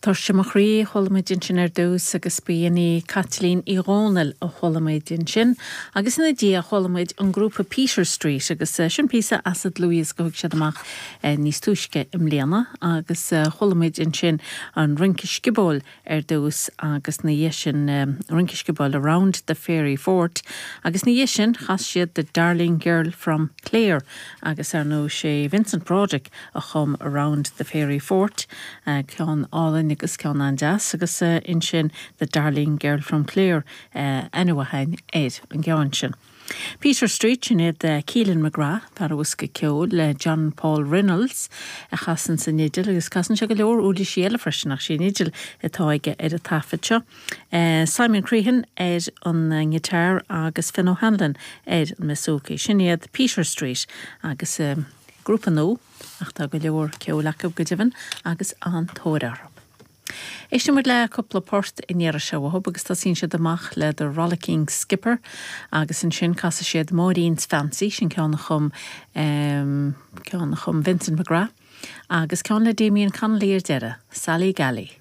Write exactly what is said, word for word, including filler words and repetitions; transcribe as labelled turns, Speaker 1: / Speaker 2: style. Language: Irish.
Speaker 1: Tuirse mo chroí chuala muid ansin ar dtús agus b'in í Caitlín Uí Dhónaill a chuala muid ansin, agus ina diaidh chuala muid an grúpa Peter Street agus eh, sin píosa as an dlúthdhiosca a thug siad amach eh, níos túisce i mbliana agus eh, chuala muid ansin an Rince Sciobóil ar dtús agus ina dhiaidh sin Rince Sciobóil Around the Fairy Fort agus ina dhiaidh sin chas siad the Darling Girl from Clare agus ar ndóigh sé Vincent Broderick a chum Around the Fairy Fort ceann álainn agus ceann an-deas agus uh, ansin the Darling Girl from Clare uh, anuhain ar an gceann sin. Peter Street sin iad uh, Keelan McGrath fear bosca ceoil le John Paul Reynolds a chasann an fhidil agus casann sé go leor uirlisí eile freisin ach sí an fhidil atá aige ar an taifead seo. Uh, Simon Crehan ar an ngiotár agus Finn O'Hanlon ar an mboosócaí. Sin iad Peter Street agus uh, grúpa nua ach tá go leor ceoil acu go deimhin agus an-tóir orthu. Éistfidh muid le cúpla port in iar seo thub agus tosaíonn siad amach le The Rollicking Skipper agus ansin casfaidh siad Maureen's Fancy sin ceann a chum um, ceann a chum Vincent McGrath agus ceann le Damien Connolly ar deireadh, Sally Galley.